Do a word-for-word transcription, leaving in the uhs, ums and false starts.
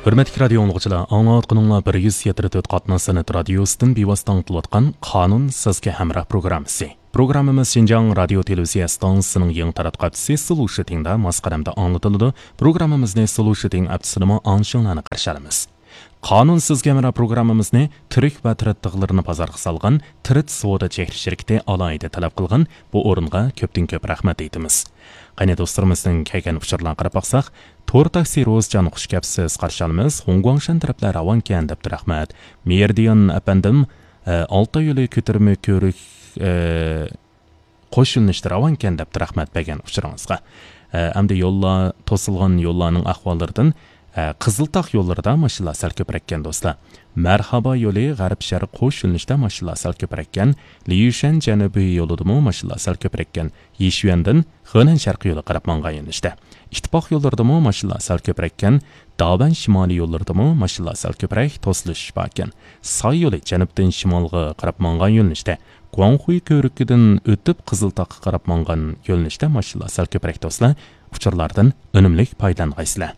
ھۆرمەتلىك رادىيو ئاڭلىغۇچىلار، ئاڭلاۋاتقىنىڭلار بىر يۈز يەتتە تۆت قاتناش سەنئەت رادىيوسىدىن بىۋاسىتە ئاڭلىتىۋاتقان قانۇن سىزگە ھەمراھ پروگراممىسى. پروگراممىمىز شىنجاڭ رادىيو تېلېۋىزىيە ئىستانسىسىنىڭ يېڭى تاراتقۇ ھەپتىسى سلۇشىتىڭدا ماس قەدەمدە ئاڭلىتىلىدۇ. پروگراممىمىزنى سلۇشىتىڭ ھەپتىسىدىمۇ ئاڭشىڭلارنى قارشى ئالىمىز. قانۇن سىزگە ھەمراھ پروگراممىمىزنى تۈرك ۋە تىرىت تىغلىرىنى بازارغا سالغان تىرىت سودا چېھرا شىركىتى ئالاھىدە تەلەپ قىلغان، بۇ ئورۇنغا كۆپتىن كۆپ رەھمەت ئېيتىمىز. قېنى دوستلىرىمىزدىن كەلگەن ئۇچۇرلارغا قاراپ باقساق، تور تاكسى روزجان، خۇش كەپسىز، قارشى ئالىمىز، خۇڭگۇاڭشەن تەرەپلەر راۋانكەن دەپتۇ، رەھمەت. مېرىدىيان ئەپەندىم، ئە، ئالتاي يولى كۆتۈرمە كۆۋرۈك، ئە، قوش يۆنىلىشتە راۋانكەن دەپتۇ، رەھمەت بەرگەن ئۇچۇرىڭىزغا. ئە، ئەمدى يوللار، توسۇلغان يوللارنىڭ ئەھۋاللىرىدىن، ئە، قىزىلتاغ يوللىرىدا ماشىنىلار سەل كۆپرەككەن دوستلار. مەرھابا يولى غەرب شەرق قوش يۆنىلىشتە ماشىنىلار سەل كۆپرەككەن. ليۈشەن جەنۇبىي يولىدىمۇ ماشىنىلار سەل كۆپرەككەن. يىشۈەندىن خېنەن شەرقىي يولى قاراپ ماڭغان يۆنىلىشتە. ئىتتىپاق يوللىرىدىمۇ ماشىنىلار سەل كۆپرەككەن. داۋەن شىمالىي يوللىرىدىمۇ ماشىنىلار سەل كۆپرەك توسۇلۇش باركەن. ساي يولى جەنۇبتىن شىمالغا قاراپ ماڭغان يۆنىلىشتە. گۇاڭخۇي كۆۋرۈكىدىن ئۆتۈپ قىزىلتاغقا قاراپ ماڭغان يۆنىلىشتە ماشىنىلار سەل كۆپرەك دوستلار. ئۇچۇرلاردىن ئۈنۈملۈك پايدىلانغايسىلەر.